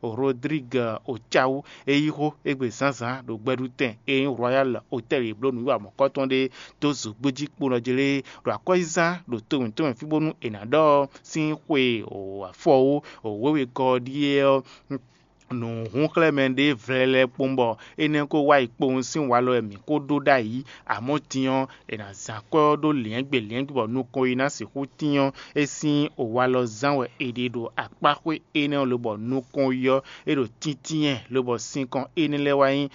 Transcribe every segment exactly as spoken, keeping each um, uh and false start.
Rodrigue Ocawu, e yí xó égbé zǎnzǎn ɖo gbɛɖutɛn e nyí Royal Hotel e bló nǔwiwa mɔ̌kɔtɔn ɖé dó zǒgbéjí kponɔ jí lé, ɖo akwɛ́zizán ɖo to mǐtɔn mɛ fí bónú è nǎ ɖɔ ɔ́ sín xwe afɔwó wěwegɔ́ ɔ́ ɖíe ɔ́, nǔhúnxlɛ́mɛ ɖé vlɛlɛ kpowun bɔ énɛ́ ko wá yi kpowun sín walɔ wɛ mǐ ko ɖó ɖ'ayǐ. Amɔ̌ din ɔ́, è nǎ zán akwɛ́ ɔ́ ɖó lyɛ̌ngbe lyɛ̌ngbe bɔ nukɔn yi ná sixú tín ɔ́, é sín walɔ zán wɛ è ɖe ɖo akpáxwé énɛ́ ɔ́ lobɔ nukɔn yi ɔ́, é ɖo tíntínyɛ lobɔ sinkɔn énɛ́ lɛ́ɛ wá nyí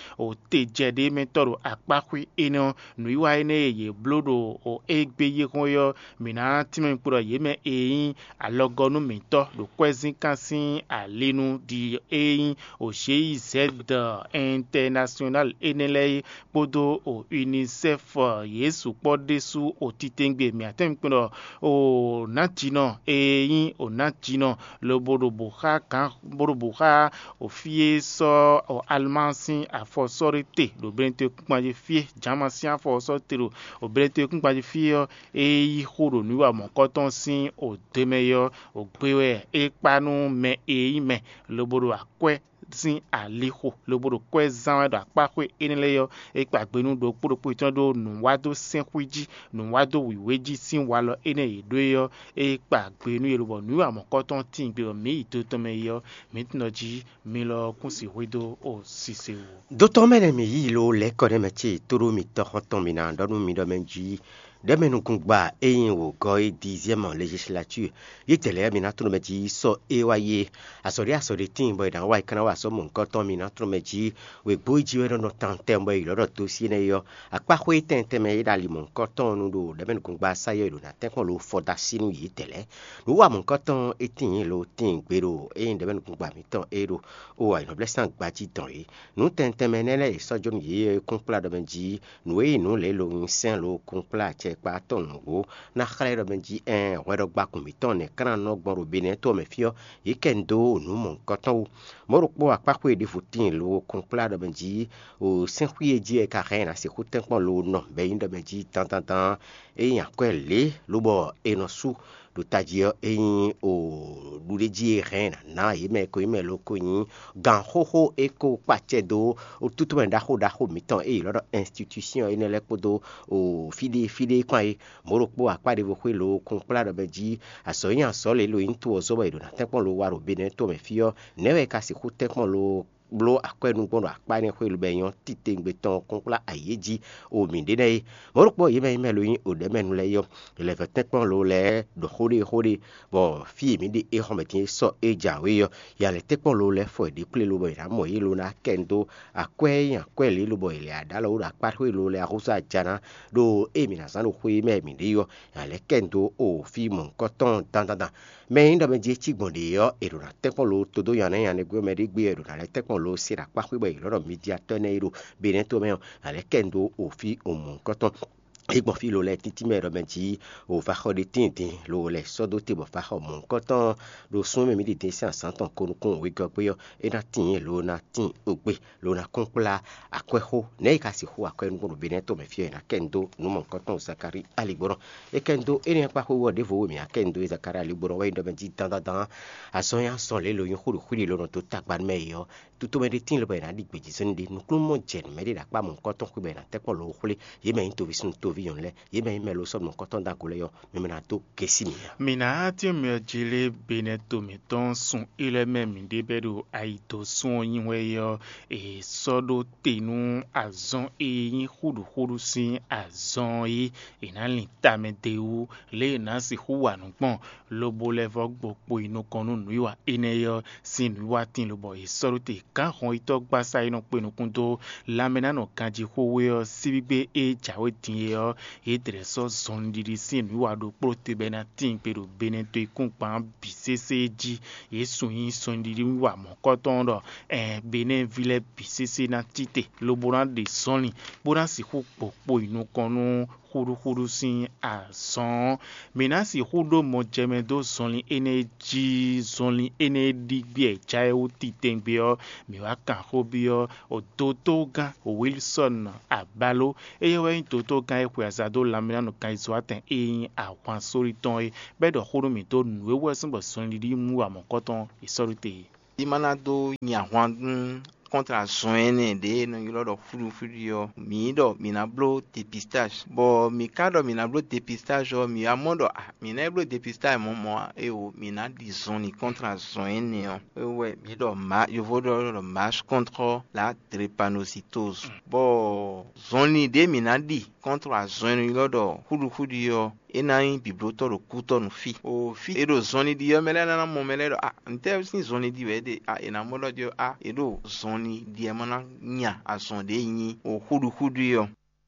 tejɛ ɖé mɛ tɔ́ ɖo akpáxwé énɛ́ ɔ́. Nǔwiwa énɛ́ e yě bló ɖo égbé yi xɔ́n é ɔ́, mǐ ná tínmɛ kpo ɖɔ yě mɛ e nyí alɔgɔ́nú mǐtɔn ɖo kwɛ́zínkán sín ali nu ɖi e nyí G I Z International énɛ́ lɛ́ɛ é kpódó UNICEF yě sukpɔ́ ɖésú titewungbe mǐ atɛ́ngbin ɖɔ nǎjínɔ e nyí nǎjínɔ lobo ɖo bǔ xá gǎn bó ɖo bǔ xá fí e sɔ́ Alma sín afɔ sɔ́ ɖé te ɖo Benetɔn kúnkpan jí fí é, Jama sín afɔ sɔ́ te ɖo Benetɔn kúnkpan jí fí é ɔ́, é yí xó ɖo nǔwiwa mɔ̌kɔtɔn sín odemɛ é ɔ́, gbe wɛ é kpa nú mɛ e nyí mɛ lobo ɖo akwɛ́ sín alixo lobo ɖo kwɛ́ zán wɛ ɖo akpáxwé énɛ́ lɛ́ɛ ɔ́, é kpa gbe nú ɖokpó ɖokpó yětɔn ɖó nǔwádó sɛ́nxwí jí, nǔwádó wǐwé jí sín walɔ énɛ́ e yě ɖó é ɔ́, é kpa gbe nú yě lobɔ nǔwiwa mɔ̌kɔtɔn tíin gbe bɔ mǐ yi do tɔn mɛ yi ɔ́, mǐ tunɔ jí mi lɔ kún si hwedó o sise wú. Dotɔ mɛ nɛ mǐ yí lo lɛ̌ kɔ nɛ mɛ ce tóɖó mitɔ́ xɔ́ntɔn mǐ ná ɖɔ nú mi ɖɔ mɛ jí ɖɛ̌mɛnukúngba e nyí wǒgɔ́ é dixième législature yi tɛ̌ lɛ́ɛ mi ná tunɔ mɛ jí sɔ́ é wá yi é. Azɔ̌ ɖé azɔ̌ ɖé tíin bɔ è nǎ wa yi ká ná wa sɔ́ mɔ̌hunkɔtɔn mi ná tunɔ mɛ jí wěgbó yi jí wɛ nɔ nɔ tantɛn bɔ è ylɔ́ ɖɔ dosí énɛ́ é ɔ́, akpáxwé tɛntɛn mɛ é ɖo ali mɔ̌hunkɔtɔn nu ɖo ɖɛ̌mɛnukúngba sayɔ e ɖo ná tɛ́nkpɔ́n lo fɔ dó así nú yě tɛ̌ lɛ́ɛ. Nǔ wa mɔ̌hunkɔtɔn é tíin lo tíin gbe ɖo ényí ɖɛ̌mɛnukúngba mǐtɔn é ɖo o ayǐhɔ́ngblɛ́sán gbají dɔn é. Nǔ tɛntɛn mɛ énɛ́ lɛ́ɛ è sɔ́ jó nú yě e kún kplá ɖɔ mɛ jí nǔ e nyí nǔ lě lo nyi sɛ́n lo kún kplá acɛ kpá tɔn nǔgbó ná xlɛ́ ɖɔ mɛ jí ɛɛn hwɛɖɔgbakun mǐtɔn nɛ̌ ká ná nɔ gbɔn ɖo Benɛ́ɛ to ɔ́ mɛ fí ɔ́, yě kɛ nyi dó nǔ mɔ̌hunkɔtɔn wú. Mɔ̌ ɖokpó akpáxwé ɖěvo tíin lo kún kplá ɖɔ mɛ jí o sɛ́nxwí e jí wɛ ka hɛn ná sixú tɛ́nkpɔ́n lo nɔ bɔ é nyí ɖɔ mɛ jí dandandan é nyí akwɛ́ lě lobɔ è nɔ sú ɖo tají ɔ́, é nyí o ɖuɖéjí e hɛn ná yě mɛ ko nyí mɛ lo ko nyí gǎn xóxó e ko kpacɛ dó tútúmɛ ɖaxó ɖaxó mǐtɔn e è ylɔ́ ɖɔ institution énɛ́ lɛ́ɛ kpódó o fíɖée fíɖée kpán é. Mɔ̌ ɖokpó akpá ɖěvo xwé lo kún kplá ɖɔ mɛ jí azɔ̌ nyí azɔ̌ lě lo nyí to ɔ́ zɔ́ bɔ è ɖo ná tɛ́nkpɔ́n lo wa ɖo Benɛ́ɛ to mɛ fí ɔ́, nɛ̌ wɛ è ka sixú tɛ́nkpɔ́n lo bló akwɛ́ nú gbɔn ɖo akpá énɛ́ xwé lobɛ nyɔ́ titewungbe tɔn kún kplá ayǐ é jí o mǐ ɖe nɛ́ é. Mɔ̌ ɖokpó yě mɛ nyí mɛ lo nyí o ɖɛ̌mɛnu lɛ́ɛ é ɔ́, è lɛ́ vɛ́ tɛ́nkpɔ́n lo lɛ́ɛ ɖo xó ɖé xó ɖé, bɔ fí e mǐ ɖe é xɔ mɛ din é sɔ́ é jǎwe ɔ́, ya lɛ́ tɛ́nkpɔ́n lo lɛ́ɛ fɔ yě ɖe kplé lobɔ è nǎ mɔ yě lo ná kɛ nu dó akwɛ́ e nyí akwɛ́ lě lobɔ è lɛ̌ ɖó alɔ wú ɖo akpá xwé lo lɛ́ɛ ahúzú aja ná ɖo ée mǐ ná zán ɖo xwé e mɛ mǐ ɖe é ɔ́, nya lɛ́ kɛ nu dó o fí mɔ̌hunkɔtɔn dandandan. Mɛ e nyí ɖɔ mɛ jí é cí gbɔn ɖě ɔ́, è ɖǒ ná tɛ́nkpɔ́n lo todó nya nɛ́ nya nɛ́ gbé ɔ́ mɛ ɖé gbé wɛ è ɖǒ ná lɛ́ tɛ́nkpɔ́n lo se ɖo akpá xwé bɔ è ylɔ́ ɖɔ Midiatɔ́ énɛ́ e ɖo Benɛ́ to mɛ ɔ́, ná lɛ́ kɛ nu dó o fí o mɔ̌hunkɔtɔn. É gbɔn fí lo lɛ́ɛ títí mɛ ɖɔ mɛ jí o va xɔ ɖé tíin din lo lɛ́ sɔ́ dó te bɔ va xɔ mɔ̌hunkɔtɔn ɖo sún mɛ mǐ ɖi din sín azǎn tɔn ko nukún wegɔ́ gbé ɔ́, é ná tíin lo ná tíin o gbé lo ná kún kplá akwɛ́xó nɛ̌ è ka sixú akwɛ́ nukún ɖo Benɛ́ to mɛ fí ɔ́, è nǎ kɛ nu dó nǔ mɔ̌hunkɔtɔn Zakalíi aligbɔnɔ. È kɛ nu dó énɛ́ kpá xwé wú ɔ́ ɖěvo e mǐ ná kɛ nu dó Zakalíi aligbɔnɔ wɛ nyí ɖɔ mɛ jí dandandan azɔn nyí azɔn lě lo nyí xó ɖo xwíɖi lo nɔ dó tagba nú mɛ e ɔ́, tutomɛ ɖé tíin lobɔ è nǎ ɖi gbějízɔ́n ɖé nukúnnú mɔ jɛ nǔ mɛ ɖé ɖo akpá mɔ̌hunkɔtɔn xwé bɔ è nǎ tɛ́nkpɔ́n lo xwlé yě mɛ nyí toví súnnu toví nyɔ̌nu lɛ́ɛ, yě mɛ nyí mɛ lo sɔ́ mɔ̌hunkɔtɔn dó ago lɛ́ɛ ɔ́, mi mɛ ná dó gɛ́ sí mǐ ǎ. Mǐ ná tínmɛ jí lé Benɛ́ to mǐtɔn sun ilɛ́ mɛ mǐ ɖe bɛ́ ɖo ayi dó sún ɔ́ nyi wɛ é ɔ́, è sɔ́ ɖó te nú azɔn e nyí xúɖuxúɖu sín azɔn é è nǎ lin tamɛ d'é wú, lě è nǎ sixú wa nǔ gbɔn, lobo lɛ́ vɔ́ gbo kpo yi nukɔn nú nǔwiwa énɛ́ ɔ́ sín nǔwiwatín lobɔ è sɔ́ ɖó te gǎn hɔnyitɔ́ gbásá e nɔ kpe nukún dó lanmɛnánɔ ganjí xwé ɔ́ sín gbígbé e jǎwe din é ɔ́, yě dlɛ̌ sɔ́ zɔnlin ɖiɖi sín nǔwiwa ɖokpó te bɔ é ná tíin gbe ɖo Benɛ́ to e kún gban bǐ sésé jí. Yě sun nyi sunɖiɖi wa mɔ̌kɔtɔn ɖɔ Benɛ́ ví lɛ́ɛ bǐ sésé ná cí te, lobo ná ɖe zɔnlin, bó ná sixú gbɔ kpo yi nukɔn nú xúɖúxúɖú sín azɔn ɔ́. Mǐ ná sixú ɖó mɔjɛmɛ dó zɔnlin énɛ́ jí. Zɔnlin énɛ́ ɖi gbé e jǎ é wú titɛngbé ɔ́, mǐ wá kan xó byɔ́ dotogán Wilsɔ́n Abaló. Éyɛ́ wɛ nyí dotogán e xwe aza dó lanmɛnánɔ ganyizo-atɛn e nyí ahwan sóli tɔn é, bɔ é ɖɔ xó nú mǐ dó nǔ e wú wɛ sín bɔ zɔnlin ɖiɖi mú wa mɔ̌kɔtɔn è sɔ́ ɖó te é. é má ná dó nyi ahwan nú kɔntra zɔn énɛ́ ɖě e nɔ ylɔ́ ɖɔ xúɖuxúɖu ɔ́, mǐ ɖɔ mǐ ná bló depistage. Bɔ mǐ ka ɖɔ mǐ ná bló depistage ɔ́, mǐ wá mɔ ɖɔ ah, mǐ ná yi bló depistage mɔ̌ mɔ̌ ǎ, éwo mǐ ná ɖi zɔnlin kɔntra zɔn énɛ́ ɔ́. É wɛ mǐ ɖɔ ma yovo ɖɔ ɖɔ marche contre la drépanocytose. Bɔ zɔnlin ɖě mǐ ná ɖi kɔntra zɔn e nɔ ylɔ́ ɖɔ xúɖuxúɖu ɔ́, é ná nyí bǐblótɔ́ ɖo kútɔ́ nú fí. O fí e ɖo zɔnlin ɖi ɔ́, mɛ lɛ́ɛ ná ná mɔ mɛ lɛ́ɛ ɖɔ ah, ntɛ́ sín zɔnlin ɖi wɛ é ɖe? Ah, è nǎ mɔ ɖɔ jí ah, è ɖo zɔnlin ɖi ɛ má ná nya azɔn ɖě nyí o xúɖuxúɖu ɔ́.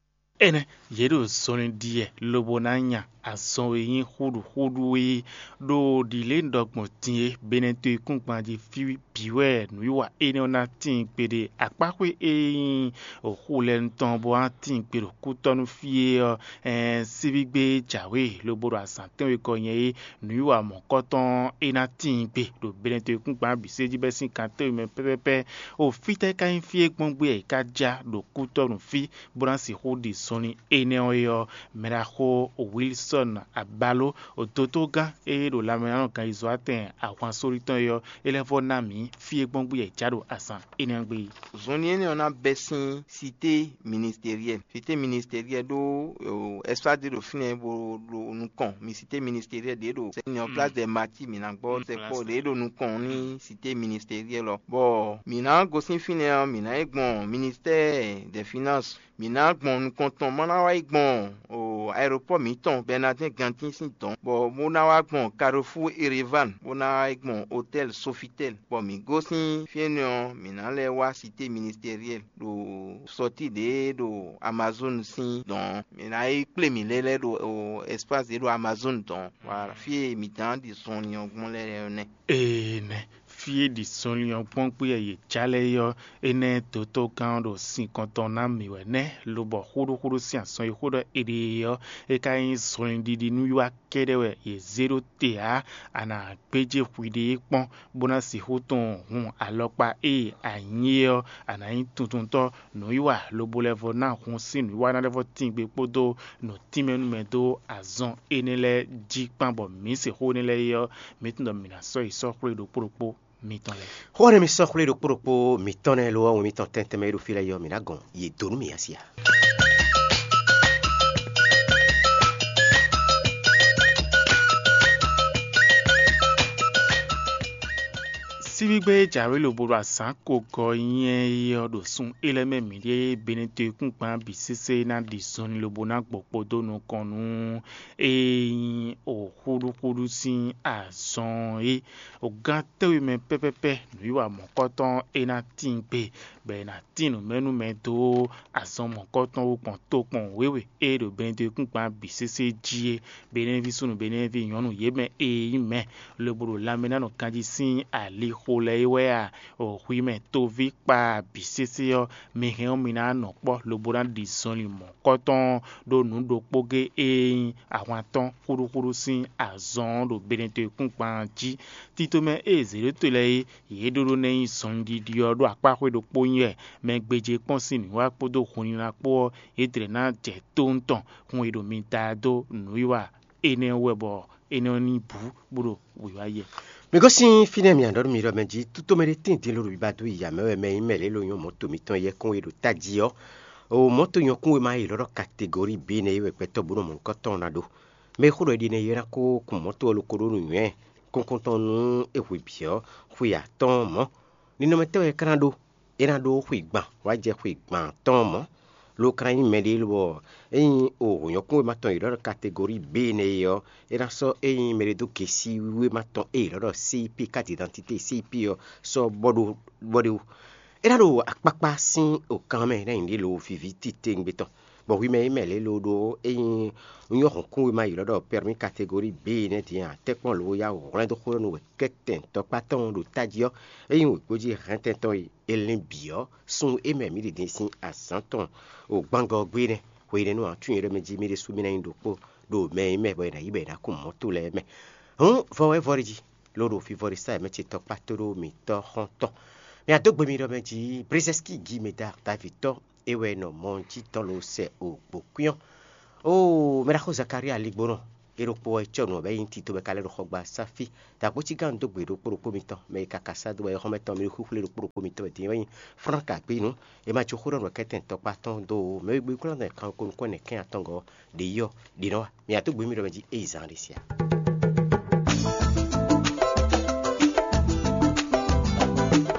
Énɛ́, yě ɖo zɔnlin ɖi ɛ lobo ná nya azɔn e nyí xúɖuxúɖu é. Ɖo ɖǐlé un ɖɔ gbɔn din é, Benɛto e kún gban jí fí bǐ wɛ nǔwiwa énɛ́ ɔ́ ná tíin kpéɖé. Akpáxwé e nyí xu lɛ́ɛ tɔn bó ná tíin kpé ɖo kútɔ́ nú fí é ɔ́, síbígbe jǎwe lobo ɖo azǎn tɛ́nwe kɔ nyɛ é, nǔwiwa mɔ̌kɔtɔn é ná tíin kpé ɖo Benɛto e kún gban bǐ sé jí bɛ́ sín kan tɛ́nwe mɛ pɛ́pɛ́pɛ́. O fítɛ́ ka nyí fí e gbɔn gbé e ka já ɖo kútɔ́ nú fí bó ná sixú ɖi zɔnlin énɛ́ ɔ́ é ɔ́, mɛɖaxó Wilsɔ́n Abaló, dotógán e ɖo lanmɛnánɔganjizɔ́watɛn ahwan sórí tɔn é ɔ́, é lɛ́ vɔ́ ná mǐ fí e gbɔn gbé e já ɖo azǎn énɛ́ ɔ́ gbe é. Zɔnlin énɛ́ ɔ́ ná bɛ́ sín sité ministériel. Sité ministériel ɖó ɛsipási ɖé ɖo fínɛ́ bó ɖo nukɔn mi sité ministériel ɖě ɖo sɛnyɔ place de mati mi ná gbɔ sɛkpɔ ɖě ɖo nukɔn ní sité ministériel ɔ́. Bɔ mǐ ná gosín fínɛ́ ɔ́, mǐ ná yi gbɔn ministère des finances. Mǐ ná gbɔn nukɔn tɔn má ná wá yi gbɔn aéropɔ́ mǐtɔn Bɛnadɛ́n Gantín sín dɔ̌n, bɔ bó ná wá gbɔn Carrefour Erevan, bó ná wá yi gbɔn hôtel Sofitel, bɔ mǐ gosín fí énɛ́ ɔ́, mǐ ná lɛ́ wá sité ministériel ɖo sɔtí ɖě ɖo Amazon sín dɔ̌n. Mǐ ná yi kplé mǐ lɛ́ lɛ́ ɖo ɛsipási ɖě ɖo Amazon dɔ̌n. Voilà, fí e mǐ dán ɖi zɔnlin ɔ́ gbɔn lɛ́ɛ ɔ́ nɛ́. Ee nɛ́, fí e ɖi zɔnlin ɔ́ gbɔn gbé wɛ yě já lɛ́ɛ é ɔ́, énɛ́ dotogán ɔ́ ɖo sinkɔn tɔn ná mǐ wɛ nɛ́, lobɔ xóɖóxóɖó sín azɔn e xó ɖɔ è ɖe é ɔ́, é ka nyí zɔnlin ɖiɖi nú wiwa kɛ́ɖɛ́ wɛ yě zé ɖó te ǎ. A nǎ gbéjé hwiɖée kpɔ́n, bó ná sixú tunwun hun alɔkpa e a nyí é ɔ́, a nǎ nyí tuntuntɔ́ nǔwiwa lobo lɛ́ vɔ ná hun sín nǔwiwa ná lɛ́ vɔ tín gbe kpódó nǔ tínmɛ nú mɛ dó azɔn énɛ́ lɛ́ɛ jí kpán, bɔ mǐ sixú énɛ́ lɛ́ɛ é ɔ́, mǐ tunwun ɖɔ mǐ ná sɔ́ yi sɔ́ xwlé ɖokpó ɖokpó mitɔn lɛ́ɛ. Xó ɔ́ nɛ́ mi sɔ́ xwlé ɖokpó ɖokpó mǐtɔn nɛ́ lo ɔ́, wɛn mitɔn tɛn tɛnmɛ e ɖo fí lɛ́ɛ é ɔ́, mǐ ná gɔn yě dó nú mǐ a si a? Síbígbé jǎwe lobo ɖo azǎn ko gɔ nyɛ é ɔ́ ɖo sun é lɛ́ɛ mɛ mǐɖée Benɛto e kún gban bǐ sésé ná ɖi zɔnlin lobo ná gbɔ kpódó nukɔn nú e nyí xúɖúxúɖú sín azɔn é. Gán tɛ́nwe mɛ pɛ́pɛ́pɛ́ nǔwiwa mɔ̌kɔtɔn é ná tíin gbe, bɔ è nǎ tín nǔ mɛ nú mɛ dó azɔn mɔ̌kɔtɔn wú gbɔn tokpɔn wěwe e ɖo Benɛto e kún gban bǐ sésé jí é. Benɛví súnnu Benɛví nyɔ̌nu yě mɛ e nyí mɛ lobo ɖo lanmɛ ná nɔ ganjí sín ali xo lɛ́ɛ é wɛ a? Hwi mɛ toví kpa bǐ sésé ɔ́, mi hɛn ɔ́ mi ná nɔ kpɔ́ lobo ná ɖi zɔnlin mɔ̌kɔtɔn ɖó nǔ ɖokpó gé e nyí ahwan tɔn xúɖúxúɖú sín azɔn ɔ́ ɖo Benɛto e kún gban jí. Tito mɛ e zě ɖó to lɛ́ɛ é, yě ɖó ɖó ná nyí zɔnlin ɖiɖi ɔ́ ɖó akpáxwé ɖokpó nyí wɛ. Mɛ gbéjé kpɔ́n sín nǔwiwa kpódó hunnila kpó ɔ́, yě tlɛ ná jɛ tóntɔn hun e ɖo mi da dó nǔwiwa énɛ́ wú wɛ bɔ énɛ́ ɔ́ ní bǔ bó ɖo wǐwá yɛ. Mi gosín fínɛ́ mi aɖɔ̌ nú mi ɖɔ mɛ jí tútomɛ ɖé tíin din ló ɖo biba dó yi amɛ wɛ mɛ nyí mɛ lě lo nyɔ́ mɔ̌to mitɔn yɛkún e ɖo tají ɔ́. O mɔ̌to nyɔkún e ma yi lɔ́ ɖɔ kategori B nɛ́ é wɛ gbɛtɔ́ bó nɔ mɔ nukɔn tɔn ná ɖó. Mɛ e xó ɖɔ é ɖi nɛ́ é ná kó kun mɔ̌to ɔ́ lokoɖó nú nywɛ́ kɔ́nkɔ́ntɔn nú é hwe bǐ ɔ́, xwe atɔ́ɔ́n mɔ̌. Ninɔmɛ tɛ́ wɛ é ka ná ɖó? É ná ɖó xwe gban wá jɛ xwe gban atɔ́ɔ́n mɔ̌. Lo ka ná nyí mɛɖé lobɔ ényí o hǒnyɔ́kún wéma tɔn e ɖɔ ɖɔ kategori B nɛ́ é ɔ́, é ná sɔ́ ényí mɛɖé dó gesi wéma tɔn e è ɖɔ ɖɔ C I P, carte d'identité C I P ɔ́ sɔ́ bɔ ɖó bɔ ɖé wú. É ná ɖo akpákpá sín okan mɛ ná nyí ɖě lo viví titewungbe tɔn. Bɔ hwi mɛ e mɛ lě lo ɖó ényí un nyɔ́ hɔ̌nkúnwe ma yi lɔ́ ɖɔ permis catégorie B nɛ́ din a, tɛ́nkpɔ́n lo ya hwlɛ́n dó xó nú wɛ kɛ́tɛn tɔkpá tɔn ɖo tají ɔ́, ényí wěkpó jí hɛntɛn tɔn e è lin bǐ ɔ́, sun e mɛ mǐ ɖi din sín azǎn tɔn o gbangɔ ɔ́ gbé nɛ́. Hwenɛ́nu ǎ, tún nyɛ ɖɔ mɛ jí mì ɖésú mì ná nyí ɖokpó ɖo mɛ e mɛ bɔ è nǎ yí bɔ è nǎ kun mɔ̌ to lɛ́ɛ mɛ. Hǔn vɔ wɛ vɔ ɖi jí, lo ɖo fivɔ́ ɖi sá mɛ ce tɔkpá tó ɖó mǐtɔn xɔ́ntɔn. Mì adó gbe mi ɖɔ mɛ jí Brezɛ́ski Gimeda Davitɔ é wɛ nɔ mɔ jí tɔn lo sɛ o gbǒkwín ɔ́. Oo, mɛ ɖaxó Zakalía ligbónɔ, É ɖokpó wɛ cɔ́ nǔ ɔ́ bɔ é nyí tito bɔ é ka lɛ́ ɖo xɔ gba sáfí. Dǎkpócí gán dó gbe ɖokpó ɖokpó mitɔn, mɛ e ka ka sá dó wɛ xɔ́mɛtɔn mi xwíxwlé ɖokpó ɖokpó mitɔn wɛ din wɛ nyí Frank Agbinu. È ma jó xó ɖɔ nǔ kɛ́tɛn tɔkpá tɔn dó o, mɛ e gbé kúnlá nɛ kan ko nukɔn nɛ kɛn atɔngɔ́ ɖě yi ɔ́, ɖě nɔ wa. Mì ató gběmí ɖɔ mɛ jí éyi zán ɖé sia.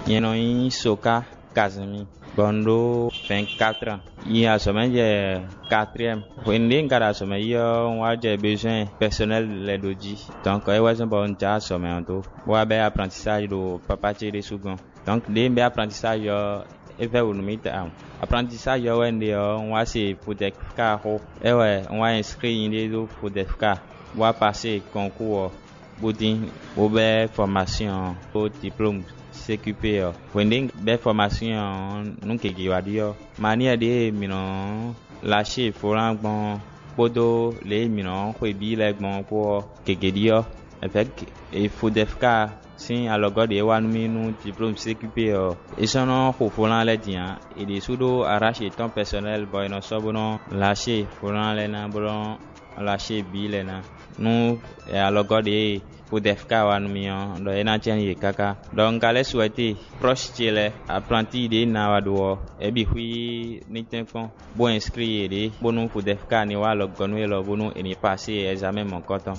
Nyɛ nɔ nyí Soka Kazimi, bɔ un ɖó vingt-quatre ans. Yi azɔ̌mɛ jɛ quatrième. Hwenu ɖě un ka ɖo azɔ̌mɛ yi ɔ́, un wá jɛ besoin personnel lɛ́ɛ ɖó jí. Donc é wɛ zɔ́n bɔ un jǎ azɔ̌mɛ ɔ́ dó, bó wá bɛ́ apprentissage ɖo papa ce ɖésú gɔ́n. Donc ɖěe un bɛ́ apprentissage ɔ́, é vɛ́ wǔ nú mì tawun. Apprentissage ɔ́ wɛ un ɖe ɔ́, un wá se Fodefka xó. É wɛ un wá inscrit nyɛɖée ɖó Fodefka, bó wá pasé concours ɔ́, bó dín, bó bɛ́ formation ɔ́ kpó diplôme C Q P ɔ́. Hwenu ɖě un bɛ́ formation ɔ́, nǔ gěgé wá ɖi ɔ́, manière ɖě e mǐ nɔ lǎ ṣe volán gbɔn ɔ́, kpódó lě e mǐ nɔ xwe bǐ lɛ́ɛ gbɔn ɔ́ kpó ɔ́, gěgé ɖi ɔ́, avec Fodefka sín alɔgɔ́ ɖě e wá nú mì nú diplôme C Q P ɔ́, é sɔ́ nɔ xo volán lɛ́ɛ din ǎ. È ɖě sú ɖó arrache yětɔn personnel bɔ è nɔ sɔ́ bó nɔ lâché volán lɛ́ɛ ná, bó nɔ lâché bǐ lɛ́ɛ ná. Nú alɔgɔ́ ɖě e Fodefka wá nú mì ɔ́, ɖɔ é ná jɛ nú yě káká. Ɖɔ un ka lɛ́ souhaité proche ce lɛ́ɛ, apprenti ɖě ná wá ɖó ɔ́, é bǐ xwí ní tɛ́nkpɔ́n, bó inscrit yěɖée, bónú Fodefka ní wá alɔgɔ́ nú élɔ́, bónú è ní pasé examen mɔ̌kɔtɔn.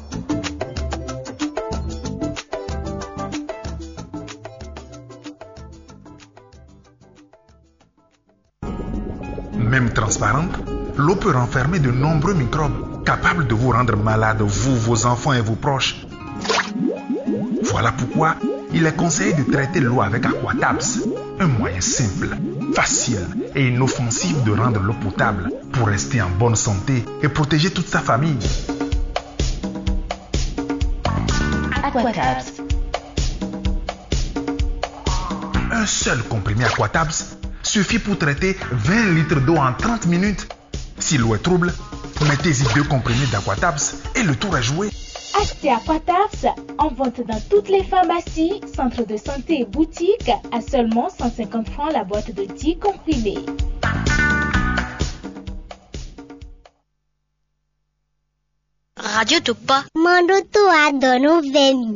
Même transparente, l'eau peut renfermer de nombreux microbes capables de vous rendre malade, vous, vos enfants et vos proches. Voilà pourquoi il est conseillé de traiter l'eau avec Aquatabs, un moyen simple, facile et inoffensif de rendre l'eau potable pour rester en bonne santé et protéger toute sa famille. Aquatabs. Un seul comprimé Aquatabs suffit pour traiter vingt litres d'eau en trente minutes. Si l'eau est trouble, mettez-y deux comprimés d'Aquatabs et le tour est joué. Achetez Aquatabs en vente dans toutes les pharmacies, centres de santé et boutiques à seulement cent cinquante francs la boîte de dix comprimés. Radio Topa. Mandutu Adono Vemi.